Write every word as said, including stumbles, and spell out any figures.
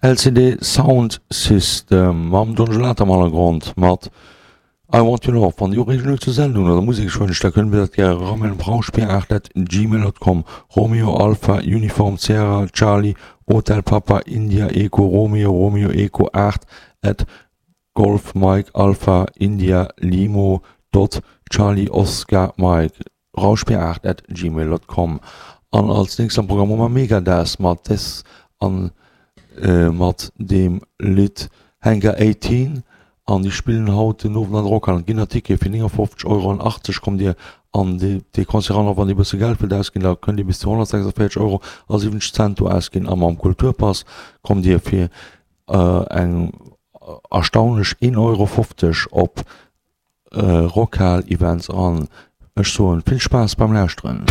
LCD Sound System mam Don Gelate am Hannergrond mat I Want Your Love. Wann Dir Ureegungen hutt zur Sendung oder Musekswënsch, da kënnt Dir dat gäre eramailen op rauschbier aacht at gmail dot com, Romeo Alpha Uniform Sierra Charlie Hotel Papa India Echo Romeo Romeo Echo aacht at Golf Mike Alpha India Limo dot Charlie Oscar Mike, rauschbier aacht at gmail dot com. An als nächst am Programm hu mer Megadeth mat Death an mat deem Lidd Hangar achtzehn an déi spillen haut den Owend an der Rockhal. Et ginn nach Tickete fir neunundfünfzig Euro an achtzeg kommt Dir an dee Concert eran. A wann Dir e bësse Geld wëllt ausginn, da kënnt Dir bis zu honnertsechsundvierzeg Euro a siwwenzeg Cent do ausginn. A mam Kulturpass kommt Dir fir eng erstaunlech een Euro fofzeg op Rockhal Events eran. Ech soen vill Spaass beim Lauschteren.